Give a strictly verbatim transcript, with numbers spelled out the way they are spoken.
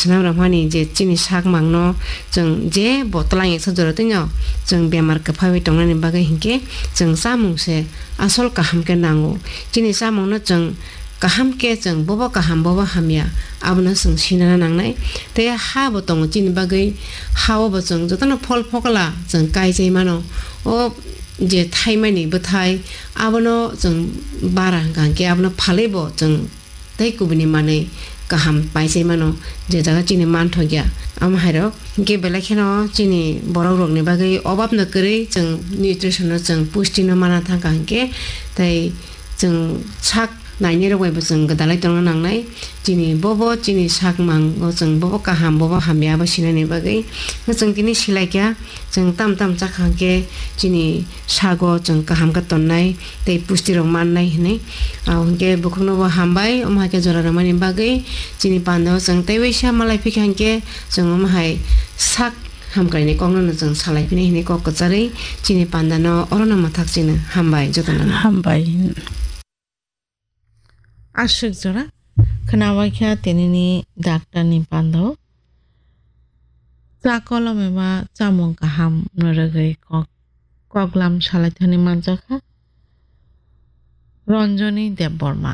Swnam rwmani je chini sak mangno chwng je bo twlang eksa jora twino chwng bemar kwphaiwi tongnani bagwi hinkhe chwng chamung se asol kaham khe nango. Chini chamungno chwng kaham khe chwng bobo kaham bobo hamya abono chwng sinana nangnai. Tei ha bo tongo chini bagwi, ha o bo chwng jotono phol phokla chwng kaichai mano. O je thaimani bwthai abono chwng bara hwnkha hinkhe abono phalwi bo chwng tei kubuni manwi kaham paisai mano, je jaga chini manthokya. Amo hairok hinkhe belai kheno chini borok rokni bagwi obab no kwrwi chwng nutrition no chwng pusti no mana thangkha hinkhe tei chwng sak nainai rok bai bo chwng gwdalai tongna nangnai. Chini bobo chini sak mang o chwng bobo kaham bobo hamya abo sinani bagwi chwng tini silaikha. Chwng tam tam chakha hinkhe chini sago chwng kaham khe tonnai tei pusti rok mannai hinwi. Abo hinkhe bukhukno bo hambai, omo hai khe jora rwmani bagwi chini panda o chwng tei waisa malai phikha hinkhe chwng omo hai sak hamkraini kokno no chwng salai phini hinwi kok kwcharwi chini panda no orono mwthak chini hambai jotono. Hambai. Aswk jora khnawaikha tinini daktarni pando. Cha kolom eba chamung kaham no rwgwi kok, koklam salaithani manjakha Ranjani Debbarma.